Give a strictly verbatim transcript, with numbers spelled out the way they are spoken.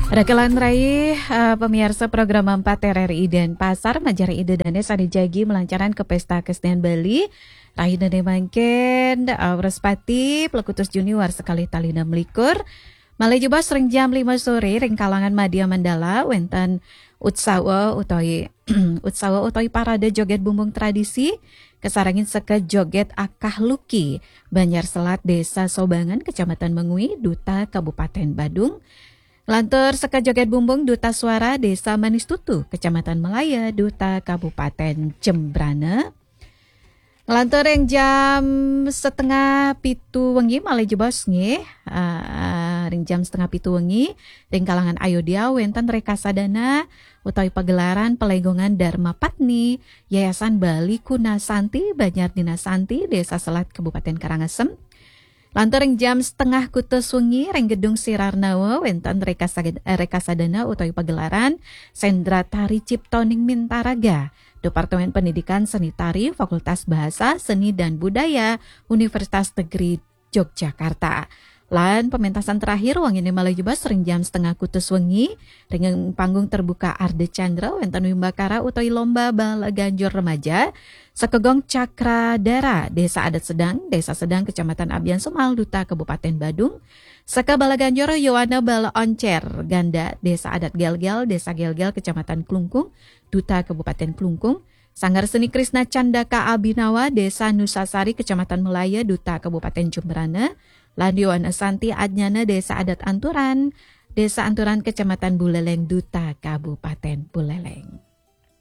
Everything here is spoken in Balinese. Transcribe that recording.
Rakelan raih, eh, pemirsa program empat R R I Denpasar, majari Ida Dane sane jagi melancaran ke Pesta Kesenian Bali. Raih dane mangkin, eh, Wrespati, pelekutus Juni warsa kalih tali enam likur. Malih jebos ring jam lima sore, ring kalangan Madya Mandala, wenten utsawa utawi, utsawa utawi parade joget bumbung tradisi, kasarengin seka joget akah luki, Banjar Selat, Desa Sobangan, Kecamatan Mengwi, Duta Kabupaten Badung. Lantur seka joget bumbung Duta Suara, Desa Manis Tutu, Kecamatan Melaya, Duta Kabupaten Jembrana. Ngelantur ring jam setengah pitu wengi malih jebos nggih. Ah, ring jam setengah pitu wengi, ring kalangan Ayodya wenten rekasadana utawi pagelaran pelenggongan Dharma Patni, Yayasan Bali Kuna Santi, Banjar Dina Santi, Desa Selat, Kabupaten Karangasem. Lantur ring jam setengah kutus wengi, ring Gedung Sirarnawa wenten rekasag-, eh, rekasadana utawi pagelaran Sendra Tari Cipto Ning Mintaraga, Departemen Pendidikan Seni Tari, Fakultas Bahasa, Seni dan Budaya, Universitas Negeri Yogyakarta. Lan pementasan terakhir wengine malih jebos ring jam setengah kutus wengi, ring panggung terbuka Ardha Candra wenten wimbakara utawi lomba bala ganjur remaja, Sekegong Cakradara, Desa Adat Sedang, Desa Sedang, Kecamatan Abian Semal, Duta Kabupaten Badung. Seka Bala Ganjur Yowana Bala Oncer Ganda, Desa Adat Gelgel, Desa Gelgel, Kecamatan Klungkung, Duta Kabupaten Klungkung. Sanggar Seni Krishna Candaka Abhinawa, Desa Nusasari, Kecamatan Melaya, Duta Kabupaten Jembrana. Lan Yowana Santi Adnyana, Desa Adat Anturan, Desa Anturan, Kecamatan Buleleng, Duta Kabupaten Buleleng.